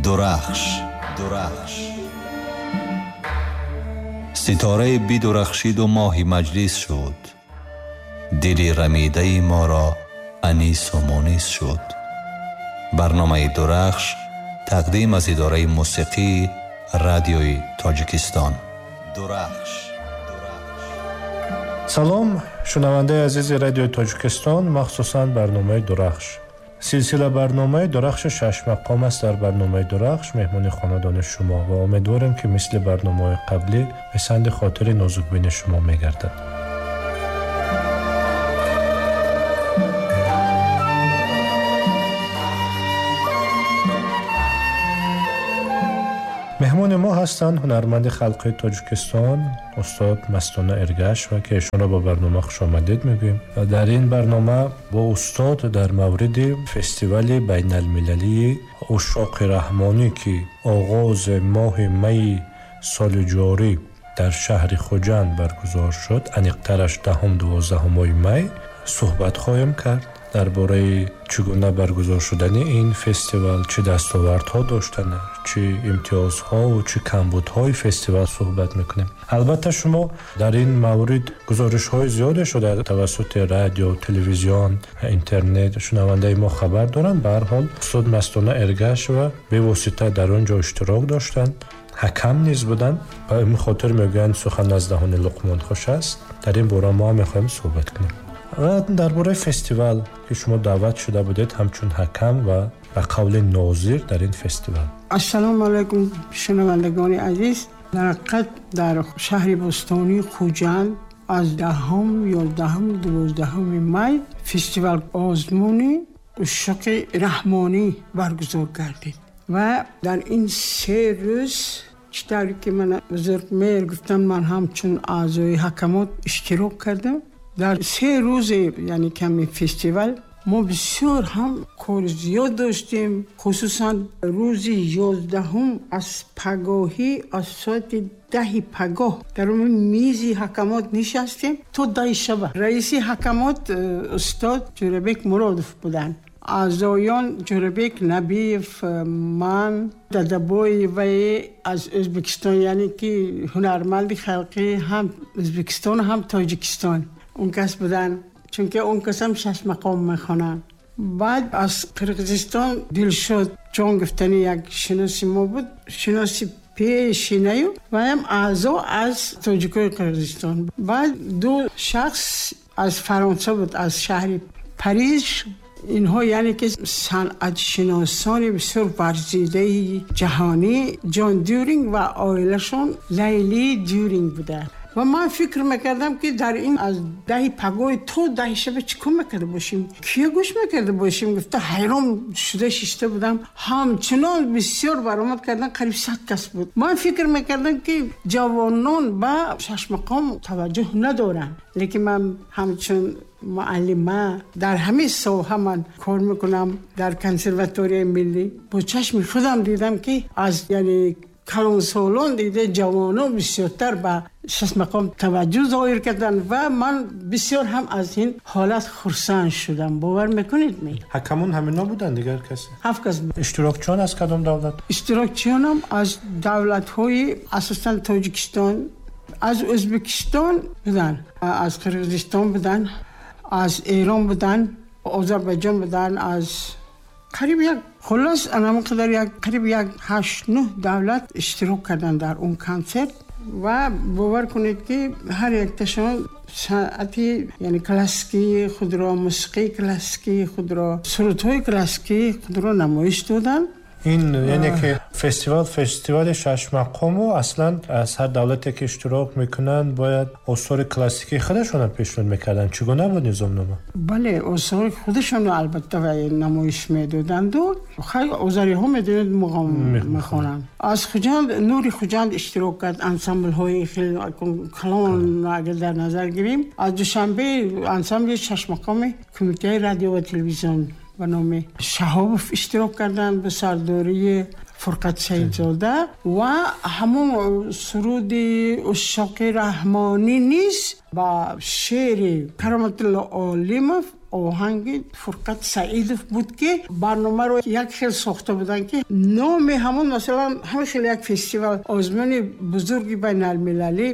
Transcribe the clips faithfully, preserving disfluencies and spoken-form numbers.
Дурахш, Дурахш. Ситораи бидурахшиду моҳи маҷлис шуд. Дили рамидаи моро анису мунис шуд. Барномаи Дурахш тақдим аз идораи мусиқии радиои Тоҷикистон. Дурахш. Салом, шунавандаи азизи радиои Тоҷикистон, махсусан барномаи Дурахш. Силсила барномаи Дурахши шашмақом аст. Дар барномаи Дурахш меҳмони хонадони шумо ва умедворем, ки мисли барномаҳои қаблӣ писанди хотири нозукбини шумо мегардад. Меҳмони мо ҳастанд ҳунарманди халқии Тоҷикистон устод Мастона Эргашева, ки эшонро ба барнома хушомадед мегӯем. Дар ин барнома бо устод дар мавриди фестивали байналмилалии Ушшоқи Раҳмонӣ, ки оғози моҳи майи соли ҷорӣ дар шаҳри Хуҷанд баргузор шуд, аниқтараш даҳум дувоздаҳуми май, суҳбат хоҳем кард дар бораи чӣ гуна баргузор шудани ин фестивал, чӣ дастовардҳо доштанаш, чӣ имтиёзҳову чӣ камбудҳои фестивал суҳбат мекунем. Албатта шумо дар ин маврид гузоришҳои зиёде шуда тавассути радио, телевизион, интернет шунавандаи мо хабар доранд. Ба ҳар ҳол устод Мастона Эргашева бевосита дар он ҷо иштирок доштанд, ҳакам низ буданд. Ба ин хотир мегӯянд сухан аз даҳони Луқмон хуш аст. Дар ин бора мо ҳам мехоҳем суҳбат кунем. Ва дар бораи фестивал, ки шумо даъват шуда будед ҳамчун ҳакам ва ба қавли нозир дар ин фестивал. Ассалому алайкум, шунавандагони азиз. Дар ҳақиқат дар шаҳри бӯстонии Хуҷанд аз даҳум, ёздаҳум, дувоздаҳуми май фестивал озмуни Ушшоқи Раҳмонӣ баргузор гардид ва дар ин се рӯз чӣ тавре ки ман бузургмеҳр гуфтам, ман ҳамчун аъзои ҳакамот иштирок кардам. Дар се рӯзи яъне ками фестивал мо бисёр ҳам кор зиёд доштем, хусусан рӯзи ёздаҳум аз пагоҳӣ аз соати даҳи пагоҳ дар мизи ҳакамот нишастем то даҳи шаба. Раиси ҳакамот устод Ҷӯрабек Муродов буданд. Аъзоён Ҷӯрабек Набиев, ман, Дадабоева аз Ӯзбекистон, яъне ки ҳунарманди халқӣ ҳам Ӯзбекистон ҳам Тоҷикистон он кас буданд, чунки он кас ҳам шашмақом мехонанд. Баъд аз Қирғизистон Дилшод ҷон гуфтани як шиноси мо буд, шиноси пешинаю ва ҳам аъзо аз тоҷикои Қирғизистон. Баъд ду шахс аз Фаронса буд, аз шаҳри Париж. Инҳо яъне ки санъатшиносони бисёр варзидаи ҷаҳонӣ Ҷон Дюринг ва оилашон Лайли Дюринг буданд. Ва ман фикр мекардам, ки дар ин аз даҳи пагоҳи то даҳи шаба чӣ кор мекарда бошем, кия гӯш мекарда бошем гуфта ҳайрон шуда шишта будам. Ҳамчунон бисёр баромад кардан, қариб сад кас буд. Ман фикр мекардам, ки ҷавонон ба шашмақом таваҷҷӯҳ надоранд, лекин ман ҳамчун муаллима дар ҳамин соҳа ман кор мекунам дар консерваторияи миллӣ, бо чашми худам дидам, ки аз яъне калонсолон дида ҷавонон бисёртар ба шашмақом таваҷҷӯҳ зоҳир карданд ва ман бисёр ҳам аз ин ҳолат хурсанд шудам. Бовар мекунед ми? Ҳакамон ҳамино буданд, дигар касе? Ҳафт кас. Иштирокчиён аз кадом давлат? Иштирокчиёнам аз давлатҳои асосан Тоҷикистон, аз Ӯзбекистон буданд, аз Қирғизистон буданд, аз Эрон буданд, Озарбойҷон буданд, аз қариб як хулос анам қадар як қариб як ҳашт нӯҳ давлат иштирок карданд дар он консерт. Ва бовар кунед, ки ҳар якташон санъати яъне классикии худро, мусиқии классикии худро, сурудҳои классикии худро намоиш доданд. Ин яъне ки фестивал фестивали шашмақому аслан аз ҳар давлате ки иштирок мекунанд бояд осори классикии худашонро пешниҳод мекарданд. Чӣ гуна буд низомнома? Бале, осори худашонро албатта намоиш медоданду. Хай озариҳо медонед муғом мехонанд. Аз Хуҷанд Нури Хуҷанд иштирок кард, ансамблҳои хеле калон агар дар назар гирем. Аз Душанбе ансамбли шашмақоми кумитаи радио ва телевизион ба номи Шаҳобов иштирок карданд ба сардории Фурқат Саидзода ва ҳамон суруди Ушшоқи Раҳмонӣ низ ба шеъри Кароматулло Олимов Оҳанги Фурқат Саидов буд, ки барномаро як хел сохта буданд, ки номи ҳамон, масалан, ҳамин хел як фестивал, озмуни бузурги байналмилалӣ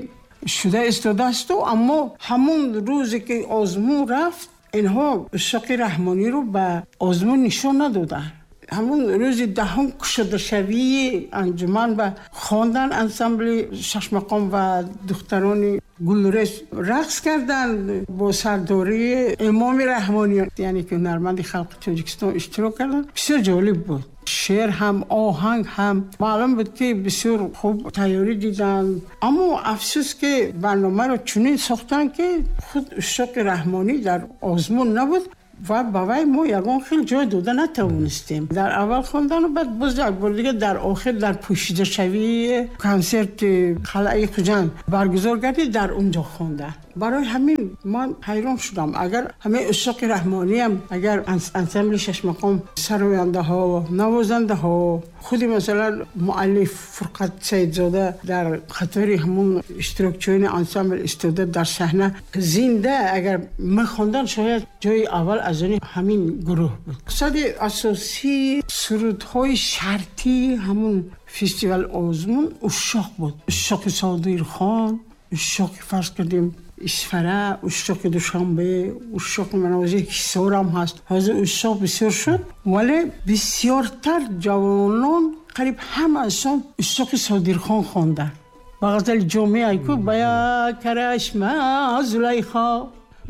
шуда истодаасту, аммо ҳамон рӯзе ки озмун рафт, инҳо Ушшоқи Раҳмониро ба озмун нишон надоданд. Ҳамон рӯзи даҳум кушодашавии анҷуман ба хондан ансамбли Шашмақом ва духтарони гулрез рақс карданд бо сардории Имоми Раҳмонӣ, яъне ки ҳунарманди халқи Тоҷикистон, иштирок карданд. Бисёр ҷолиб буд, шеър ҳам, оҳанг ҳам, маълум буд, ки бисёр хуб тайёрӣ диданд. Аммо афсӯс, ки барномаро чунин сохтанд, ки худ Ушшоқи Раҳмонӣ дар озмун набуд ва ба вай мо ягон хел ҷой дода натавонистем. Дар аввал хондану баъд боз як бор дига дар охир, дар пӯшидашавии консерти қалъаи Хуҷанд баргузор гардид, дар он ҷо хонда. Барои ҳамин ман ҳайрон шудам. Агар ҳамаи Ушшоқи Раҳмониам, агар ансамбли Шашмақом, сарояндаҳо, навозандаҳо, худи, масалан, муаллиф Фурқат Саидзода дар қатори ҳамон иштирокчиёни ансамбл истода, дар саҳна зинда агар мехондан, шояд ҷои аввал аз они ҳамин гурӯҳ буд. Мақсади асосии сурудҳои шартии ҳамун фестивал, озмун ушшоқ буд. Ушшоқи Содирхон, ушшоқи, фарз кардем, Исфара, ушшоқи Душанбе, ушшоқи манозир Ҳисорам ҳаст. Ҳозир ушшоқ бисёр шуд, вале бисёртар ҷавонон, қариб ҳамаашон ушшоқи Содирхон хонданд. Ба ғазали Ҷомӣ айку ба як карашма Зулайхо.